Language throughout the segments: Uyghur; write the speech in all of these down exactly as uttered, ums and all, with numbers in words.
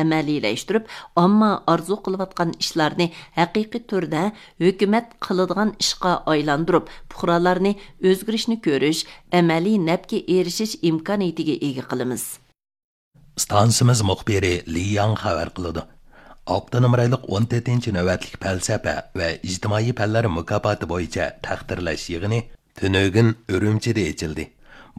ئەمەلىيلەشتۈرۈپ، ئامما ئارزۇ قىلىۋاتقان ئىشلارنى ھەقىقىي تۈردە ھۆكۈمەت قىلىدىغان ئىشقا ئايلاندۇرۇپ، پۇقرالارنى ئۆزگىرىشنى كۆرۈش، ئەمەلىي نەپكە ئېرىشىش ئىمكانىيىتىگە ئىگە قىلىمىز. ئىستانسىمىز مۇخبىرى لى ياڭ خەۋەر قىلىدۇ. ئاپتونوم رايونلۇق ئون تۆتىنچى نۆۋەتلىك پەلسەپە ۋە ئىجتىمائىي پەنلەر مۇكاپاتى بويىچە تەقدىرلەش يىغىنى تۈنۈگۈن ئۈرۈمچىدە ئېچىلدى.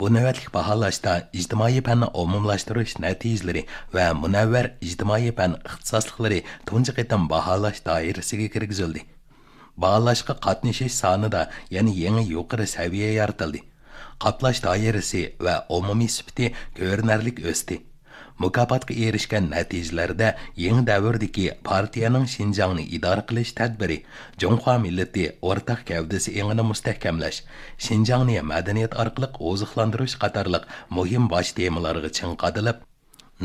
بۇ نۆۋەتلىك باھالاشتا ئىجتىمائىي پەننى ئومۇملاشتۇرۇش نەتىجىلىرى ۋە مۇنەۋۋەر ئىجتىمائىي پەن ئىختىساسلىقلىرى تۇنجى قېتىم باھالاش دائىرىسىگە كىرگۈزۈلدى. باھالاشقا قاتنىشىش سانىدا يەنە يېڭى يۇقىرى سەۋىيە يارىتىلدى. قاپلاش دائىرىسى ۋە ئومۇمىي سۈپىتى كۆرۈنەرلىك ئۆستى. مۇكاپاتقا ئېرىشكەن نەتىجىلەردە يېڭى دەۋردىكى پارتىيەنىڭ شىنجاڭنى ئىدارە قىلىش تەدبىرى، جۇڭخۇا مىللىتى ئورتاق گەۋدىسى ئېڭىنى مۇستەھكەملەش، شىنجاڭنى مەدەنىيەت ئارقىلىق ئوزۇقلاندۇرۇش قاتارلىق مۇھىم باش تېمىلارغا چىڭ قادىلىپ،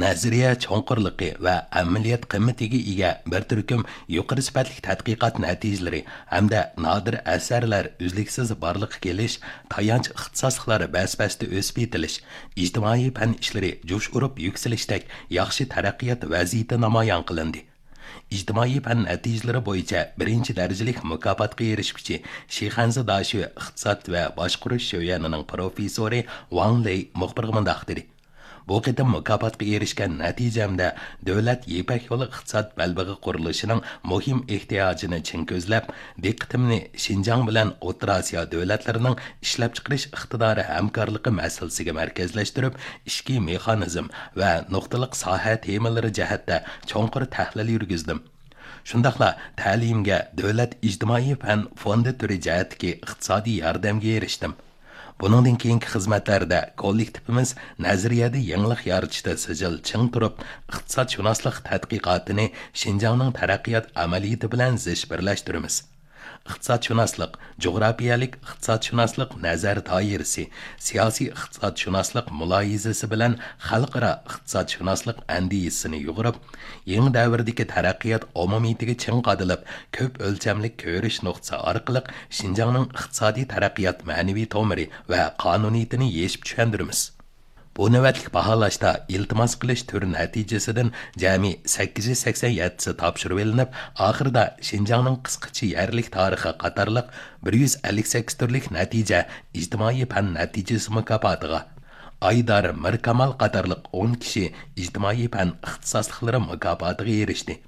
نەزەرىيە چوڭقۇرلۇقى ۋە ئەمەلىيەت قىممىتىگە ئىگە بىر تۈركۈم يۇقىرى سۈپەتلىك تەتقىقات نەتىجىلىرى ھەمدە نادىر ئەسەرلەر ئۈزلۈكسىز بارلىققا كېلىش، تايانچ ئىختىساسلىقلار بەس-بەستە ئۆسۈپ يېتىلىش، ئىجتىمائىي پەن ئىشلىرى جۇش ئۇرۇپ يۈكسىلىشتەك ياخشى تەرەققىيات ۋەزىيىتى نامايان قىلىندى. ئىجتىمائىي پەن نەتىجىلىرى بويىچە بىرىنچى دەرىجىلىك مۇكاپاتقا ئېرىشكۈچى شىخەنزې داشۆ ئىقتىساد ۋە باشقۇرۇش شۆيۈەنىنىڭ پروفېسسورى ۋاڭ لېي مۇخبىرغا مۇنداق دېدى: بۇ قېتىم مۇكاپاتقا ئېرىشكەن نەتىجەمدە دۆلەت يىپەك يولى ئىقتىساد بەلبېغى قۇرۇلۇشىنىڭ مۇھىم ئېھتىياجىنى چىڭ كۆزلەپ، دىققىتىمنى شىنجاڭ بىلەن ئوتتۇرا ئاسىيا دۆلەتلىرىنىڭ ئىشلەپچىقىرىش ئىقتىدارى ھەمكارلىقى مەسىلىسىگە مەركەزلەشتۈرۈپ، ئىچكى مېخانىزم ۋە نۇقتىلىق ساھە تېمىلىرى جەھەتتە چوڭقۇر تەھلىل يۈرگۈزدۈم. شۇنداقلا تەلىيىمگە دۆلەت ئىجتىمائىي پەن فوندى تۈرى جەھەتتىكى ئىقتىسادىي ياردەمگە ئېرىشتىم. بۇنىڭدىن كېيىنكى خىزمەتلەردە كوللېكتىپىمىز نەزەرىيەدە يېڭىلىق يارىتىشتا سىجىل چىڭ تۇرۇپ، ئىقتىسادشۇناسلىق تەتقىقاتىنى شىنجاڭنىڭ تەرەققىيات ئەمەلىيىتى بىلەن زىچ بىرلەشتۈرىمىز. ئىقتىسادشۇناسلىق، جۇغراپىيەلىك ئىقتىسادشۇناسلىق نەزەر دائىرىسى، سىياسىي ئىقتىسادشۇناسلىق مۇلاھىزىسى بىلەن خەلقئارا ئىقتىسادشۇناسلىق ئەندىزىسىنى يۇغۇرۇپ، يېڭى دەۋردىكى تەرەققىيات ئومۇمىيىتىگە چىڭ قادىلىپ، كۆپ ئۆلچەملىك كۆرۈش نۇقتىسى ئارقىلىق شىنجاڭنىڭ ئىقتىسادىي تەرەققىيات مەنىۋى تومۇرى ۋە قانۇنىيىتىنى يېشىپ چۈشەندۈرىمىز. بۇ نۆۋەتلىك باھالاشتا ئىلتىماس قىلىش تۈر نەتىجىسىدىن جەمئىي سەككىز يۈز سەكسەن يەتتىسى تاپشۇرۇۋېلىنىپ، ئاخىرىدا شىنجاڭنىڭ قىسقىچە يەرلىك تارىخى قاتارلىق بىر يۈز ئەللىك سەككىز تۈرلۈك نەتىجە ئىجتىمائىي پەن نەتىجىسى مۇكاپاتىغا، ئايدار مىركامال قاتارلىق ئون كىشى ئىجتىمائىي پەن ئىختىساسلىقلىرى مۇكاپاتىغا ئېرىشتى.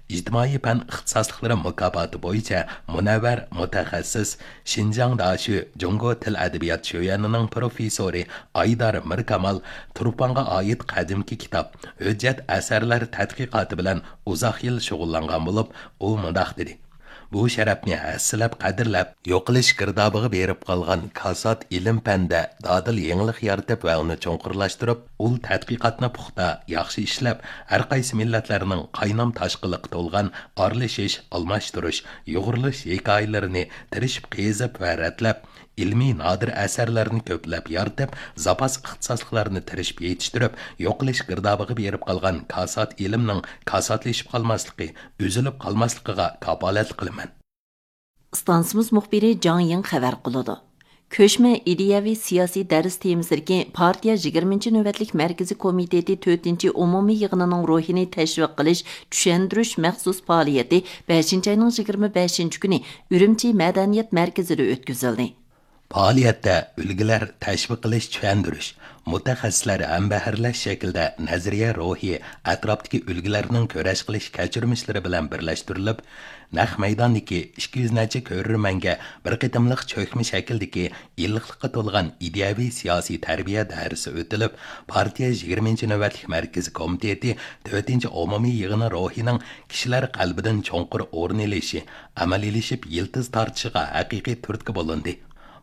ئىجتىمائىي پەن ئىختىساسلىقلىرى مۇكاپاتى بويىچە مۇنەۋۋەر مۇتەخەسسىس، شىنجاڭ داشۆ جۇڭگو تىل ئەدەبىيات شۆيۈەنىنىڭ پروفېسسورى ئايدار مىركامال تۇرپانغا ئائىت قەدىمكى كىتاب، ھۆججەت ئەسەرلەر تەتقىقاتى بىلەن ئۇزاق يىل شۇغۇللانغان بولۇپ، ئۇ مۇنداق دېدى: بۇ شەرەپنى ھەسسىلەپ قەدىرلەپ، يوقىلىش گىردابىغا بېرىپ قالغان كاسات ئىلىم-پەندە دادىل يېڭىلىق يارىتىپ ۋە ئۇنى چوڭقۇرلاشتۇرۇپ، ئۇل تەتقىقاتنى پۇختا، ياخشى ئىشلەپ، ھەر قايسى مىللەتلەرنىڭ قاينام-تاشقىنلىققا تولغان ئارىلىشىش، ئالماشتۇرۇش، يۇغۇرۇلۇش ھېكايىلىرىنى تىرىشىپ قېزىپ ۋە رەتلەپ، ئىلمىي نادىر ئەسەرلەرنى كۆپلەپ يارىتىپ، زاپاس ئىختىساسلىقلارنى تىرىشىپ يېتىشتۈرۈپ، يوقىلىش گىردابىغا بېرىپ قالغان كاسات ئىلىمنىڭ كاساتلىشىپ قالماسلىقى، ئۈزۈلۈپ قالماسلىقىغا كاپالەتلىك قىلىمەن. ئىستانسىمىز مۇخبىرى جاڭ يىڭ خەۋەر قىلىدۇ. كۆچمە ئىدىيەۋى سىياسىي دەرس تېمىسىدىكى پارتىيە يىگىرمىنچى نۆۋەتلىك مەركىزىي كومىتېتى تۆتىنچى ئومۇمىي يىغىنىنىڭ روھىنى تەشۋىق قىلىش، چۈشەندۈرۈش مەخسۇس پائالىيىتى بەشىنچى ئاينىڭ يىگىرمە بەشىنچى كۈنى ئۈرۈمچى مەدەنىيەت مەركىزىدە ئۆتكۈزۈلدى. پائالىيەتتە ئۈلگىلەر تەشۋىق قىلىش، چۈشەندۈرۈش، مۇتەخەسسىسلەر ھەمبەھىرلەش شەكلىدە نەزەرىيە روھى، ئەتراپتىكى ئۈلگىلەرنىڭ كۈرەش قىلىش كەچۈرمىشلىرى بىلەن بىرلەشتۈرۈلۈپ، نەق مەيداندىكى ئىككى يۈز نەچچە كۆرۈرمەنگە بىر قېتىملىق چۆكمە شەكىلدىكى ئىللىقلىققا تولغان ئىدىيەۋى سىياسىي تەربىيە دەرسى ئۆتۈلۈپ، پارتىيە يىگىرمىنچى نۆۋەتلىك مەركىزىي كومىتېتى تۆتىنچى ئومۇمىي يىغىنى روھىنىڭ كىشىلەر قەلبىدىن چوڭقۇر ئورۇن ئېلىشى، ئەمەلىيلىشىپ يىلتىز تارتىشىغا ھەقىقىي تۈرتكە بولۇندى.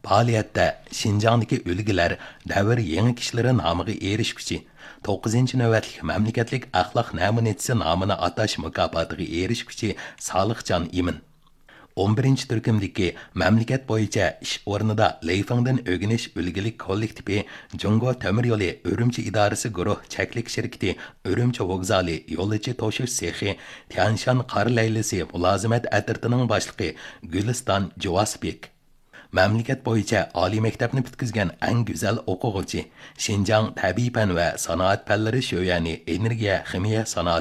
پائالىيەتتە شىنجاڭدىكى ئۈلگىلەر دەۋر يېڭى كىشىلىرى نامىغا ئېرىشكۈچى، توققۇزىنچى نۆۋەتلىك مەملىكەتلىك ئەخلاق نەمۇنىچىسى نامىنى ئاتاش مۇكاپاتىغا ئېرىشكۈچى سالىھجان ئىمىن، ئون بىرىنچى تۈركۈمدىكى مەملىكەت بويىچە ئىش ئورنىدا لېيفېڭدىن ئۆگىنىش ئۈلگىلىك كوللېكتىپى، جۇڭگو تۆمۈر يولى ئۈرۈمچى ئىدارىسى گۇرۇھ چەكلىك شىركىتى ئۈرۈمچى ۋوگزالى يولۇچى توشۇش سېخى، تيەنشان قار لەيلىسى مۇلازىمەت ئەترىتىنىڭ باشلىقى گۈلىستان جۇۋاسبېك. مەملىكەت بويىچە ئالىي مەكتەپنى پۈتكۈزگەن ئەڭ گۈزەل ئوقۇغۇچى، شىنجاڭ تەبىئىي پەن ۋە سانائەت پەنلىرى شۆيۈەنى ئېنېرگىيە خىمىيە سانائەت